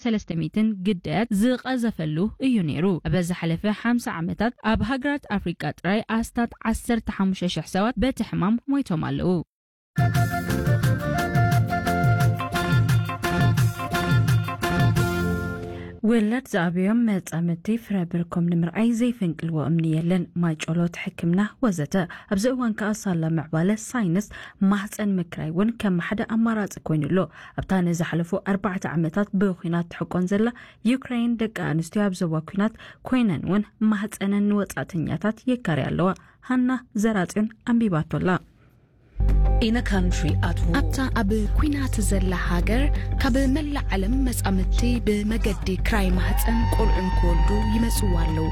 ሰለስተ ሚእትን ግዳያት ዝቐዘፈሉ እዩ ነይሩ። ኣብ ዝሓለፈ ሓምሳ ዓመታት ኣብ ሃገራት ኣፍሪቃ ጥራይ ኣስታት ዓሰርተ ሓሙሽተ ሽሕ ሰባት በቲ ሕማም ሞይቶም ኣለዉ። ውላድ ዝኣብዮም መጻምድቲ ፍረ ብርኮም ንምርኣይ ዘይፈንቅልዎ እምኒ የለን። ማይ ጮሎት፣ ሕክምና ወዘተ። ኣብዚ እዋን ከኣ ሳላ ምዕባለ ሳይንስ ማህጸን ምክራይ እውን ከም ሓደ ኣማራጺ ኮይኑ ኣሎ። ኣብታ ንዝሓለፉ ኣርባዕተ ዓመታት ብኹናት ትሕቆን ዘላ ዩክሬን፣ ደቂ ኣንስትዮ ኣብ ዞባ ኲናት ኮይነን እውን ማህጸነን ንወጻእተኛታት የካርያ ኣለዋ። ሃና ዘራጽዮን ኣንቢባቶ ኣላ። In a country at war. ኣብታ ኣብ ኲናት ዘላ ሃገር ካብ መላእ ዓለም መጻምድቲ ብመገዲ ክራይ ማህጸን ቆልዑ ንክወልዱ ይመጽዋ ኣለዉ።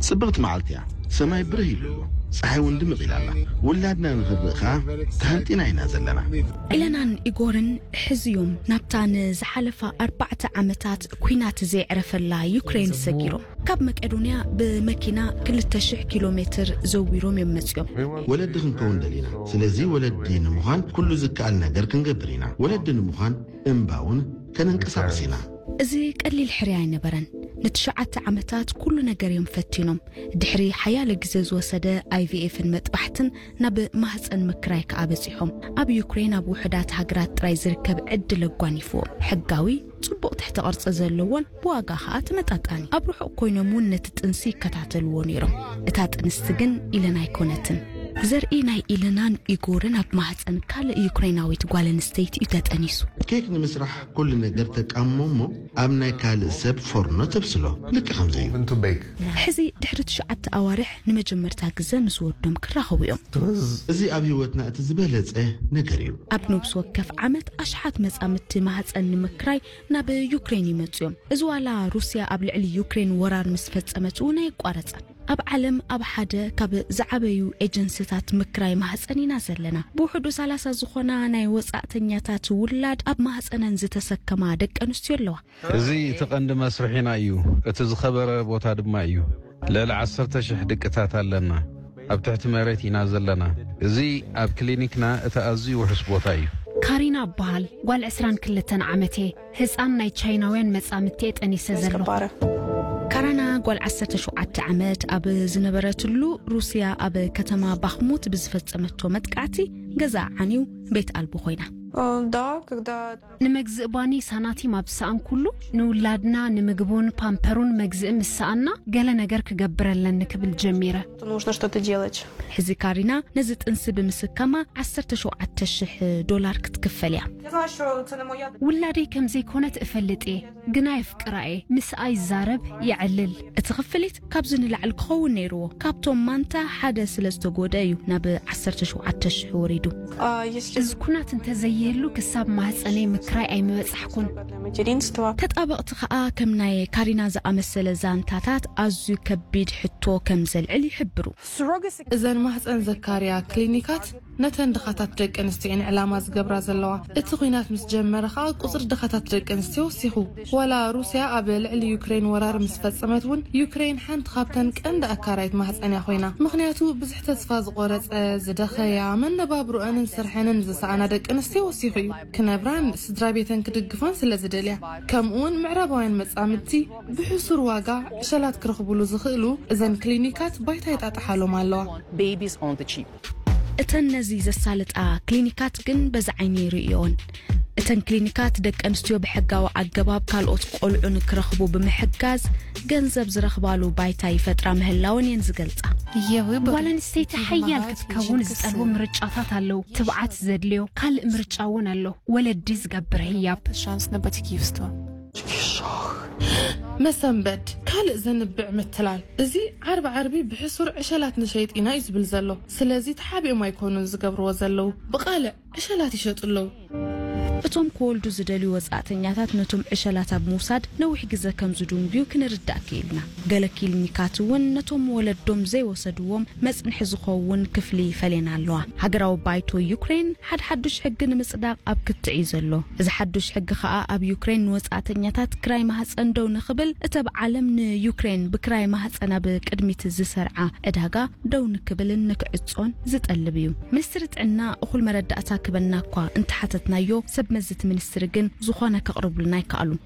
ጽብቕቲ መዓልቲ እያ። ሰማይ ብርህ ኢሉ ኣሎ። ጸሓይ እውን ድምቕ ኢላ ኣላ። ውላድና ንኽንርኢ ኸኣ ተሃንጢና ኢና ዘለና። ኢለናን ኢጎርን ሕዝዮም ናብታ ንዝሓለፋ ኣርባዕተ ዓመታት ኲናት ዘየዕረፈላ ዩክሬን ሰጊሮም ካብ መቄዶንያ ብመኪና ክልተ ሽሕ ኪሎ ሜትር ዘዊሮም እዮም መጺኦም። ወለዲ ክንከውን ደሊና። ስለዚ ወለዲ ንምዃን ኩሉ ዝከኣል ነገር ክንገብር ኢና። ወለዲ ንምዃን እምባ እውን ከነንቀሳቕስ ኢና። እዚ ቀሊል ሕርያ ኣይነበረን። ንትሽዓተ ዓመታት ኩሉ ነገር እዮም ፈቲኖም። ድሕሪ ሓያለ ግዜ ዝወሰደ ኣይቪኤፍን መጥባሕትን ናብ ማህጸን ምክራይ ከኣ በጺሖም። ኣብ ዩክሬን ኣብ ውሑዳት ሃገራት ጥራይ ዝርከብ ዕድል ኣጓኒፍዎም። ሕጋዊ ጽቡቕ ትሕተ ቅርጺ ዘለዎን ብዋጋ ኸኣ ተመጣጣኒ። ኣብ ርሑቕ ኮይኖም እውን ነቲ ጥንሲ ይከታተልዎ ነይሮም። እታ ጥንስቲ ግን ኢለን ኣይኮነትን። ዘርኢ ናይ ኢለናን ኢጎርን ኣብ ማህጸን ካልእ ዩክሬናዊት ጓል ኣንስተይቲ እዩ ተጠኒሱ። ኬክ ንምስራሕ ኩሉ ነገር ተቃሞ እሞ ኣብ ናይ ካልእ ሰብ ፎርኖ ተብስሎ። ልክዕ ከምዚ እዩ። ሕዚ ድሕሪ ትሽዓተ ኣዋርሕ ንመጀመርታ ግዘ ምስ ወዶም ክራኸቡ እዮም። እዚ ኣብ ህይወትና እቲ ዝበለጸ ነገር እዩ። ኣብ ነብሲ ወከፍ ዓመት ኣሽሓት መጻምድቲ ማህጸን ንምክራይ ናብ ዩክሬን ይመጹ እዮም። እዚ ዋላ ሩስያ ኣብ ልዕሊ ዩክሬን ወራር ምስ ፈጸመት እውን ኣየቋረጸን። ኣብ ዓለም ኣብ ሓደ ካብ ዝዓበዩ ኤጀንሲታት ምክራይ ማህጸን ኢና ዘለና። ብውሕዱ ሰላሳ ዝኾና ናይ ወጻእተኛታት ውላድ ኣብ ማህጸነን ዝተሰከማ ደቂ ኣንስትዮ ኣለዋ። እዚ እቲ ቀንዲ መስርሒና እዩ። እቲ ዝኸበረ ቦታ ድማ እዩ። ልዕሊ ዓሰርተ ሽሕ ድቅታት ኣለና። ኣብ ትሕቲ መሬት ኢና ዘለና። እዚ ኣብ ክሊኒክና እቲ ኣዝዩ ውሑስ ቦታ እዩ። ካሪና እበሃል። ጓል ዕስራን ክልተን ዓመት እየ። ህጻን ናይ ቻይናውያን መጻምድቲ እየ ጠኒሰ ዘለኹ። ካራና ጓል ዓሰርተ ሸውዓተ ዓመት ኣብ ዝነበረትሉ ሩስያ ኣብ ከተማ ባኽሙት ብዝፈጸመቶ መጥቃዕቲ ገዛ ዓንዩ ቤት ኣልቦ ኮይና። О, да, когда ንምግዝእ ባኒ ሳናቲም ኣብ ዝሰኣንኩሉ፣ ንውላድና ንምግቡን ፓምፐሩን መግዝእ ምስ ሰኣና፣ ገለ ነገር ክገብር ኣለኒ ክብል ጀሚረ። Нужно что-то делать. ሕዚ ካሪና ነዚ ጥንሲ ብምስካማ ዓሰርተ ሸውዓተ ሽሕ ዶላር ክትክፈል እያ። Я знаю, что это на моя ውላደይ ከም ዘይኮነት እፈልጥ እየ፣ ግና የፍቅራ እየ። ምስኣ ይዛረብ፣ የዕልል። እቲ ክፍሊት ካብዚ ንላዕሊ ክኸውን ነይርዎ። ካብቶም ማንታ ሓደ ስለ ዝተጎድአ እዩ ናብ ዓሰርተ ሸውዓተ ሽሕ ወሪዱ። А, если እዚ ኩናት እንተዘይህሉ ክሳብ ማህፀነይ ምክራይ ኣይምበጻሕኩን። Материнство. ተጣበቕቲ ከኣ ከም ናይ ካሪና ዝኣመሰለ ዛንታታት ኣዝዩ ከቢድ ሕቶ ከም ዘልዕል ይሕብሩ። እዘን ማህፀን ዘካርያ ክሊኒካት ነተን ድኻታት ደቂ ኣንስትዮ'የን ዕላማ ዝገብራ ዘለዋ። እቲ ኲናት ምስ ጀመረ ከኣ ቁጽሪ ድኻታት ደቂ ኣንስትዮ ወሲኹ። ዋላ ሩስያ ኣብ ልዕሊ ዩክሬን ወራር ምስ ፈጸመት እውን ዩክሬን ሓንቲ ካብተን ቀንዲ ኣካራይት ማህጸን እያ ኮይና። ምኽንያቱ ብዙሕ ተስፋ ዝቖረጸ፣ ዝደኸያ፣ መነባብሮአንን ስርሐንን ዝሰኣና ደቂ ኣንስትዮ ወሲኹ እዩ። ክነብራን ስድራ ቤተን ክድግፋን ስለ ዝደልያ። ከምኡውን ምዕራባውያን መጻምድቲ ብሕሱር ዋጋ ዕሸላት ክረኽቡሉ ዝኽእሉ እዘን ክሊኒካት ባይታ ይጣጥሓሎም ኣለዋ። Babies on the cheap. እተን ነዚ ዘሳልጣ ክሊኒካት ግን በዚ ዓይኒ ይርእዮን። እተን ክሊኒካት ደቂ ኣንስትዮ ብሕጋዊ ኣገባብ ካልኦት ቆልዑ ንክረኽቡ ብምሕጋዝ ገንዘብ ዝረኽባሉ ባይታ ይፈጥራ ምህላወን እየን ዝገልጻ። ጓል ኣንስተይቲ ሓያል ክትከውን ዝጠልቡ ምርጫታት ኣለዉ። ትብዓት ዘድልዮ ካልእ ምርጫ እውን ኣሎ። ወለዲ ዝገብር ህያብ። Шанс на батьківство. መሰንበድ፣ ካልእ ዘንብዕ ምትላል። እዚ ዓርቢ ዓርቢ ብሕሱር ዕሸላት ንሸይጥ ኢና እዩ ዝብል ዘሎ። ስለዚ ተሓቢኦም ኣይኮኑን ዝገብርዎ ዘለዉ። ብቓልዕ ዕሸላት ይሸጡ ኣለዉ። እቶም ክወልዱ ዝደልዩ ወጻእተኛታት ነቶም ዕሸላት ኣብ ምውሳድ ነዊሕ ግዘ ከም ዝድንጉዩ ክንርዳእ ክኢልና። ገለ ክሊኒካት እውን ነቶም ወለዶም ዘይወሰድዎም መጽንሒ ዝኸውን ክፍሊ ፈሌና ኣለዋ። ሃገራዊ ባይቶ ዩክሬን ሓድሓዱሽ ሕጊ ንምጽዳቕ ኣብ ክትዕ እዩ ዘሎ። እዚ ሓዱሽ ሕጊ ከኣ ኣብ ዩክሬን ንወጻእተኛታት ክራይ ማህጸን ደው ንኽብል፣ እቲ ኣብ ዓለም ንዩክሬን ብክራይ ማህጸን ኣብ ቅድሚት ዝሰርዓ ዕዳጋ ደው ንክብልን ንክዕጾን ዝጠልብ እዩ። ሚኒስትሪ ጥዕና እኹል መረዳእታ ክበና እኳ እንተሓተትናዮ፣ ሰብ መዚ እቲ ሚኒስትሪ ግን ዝኾነ ከቕርቡልና ኣይከኣሉን።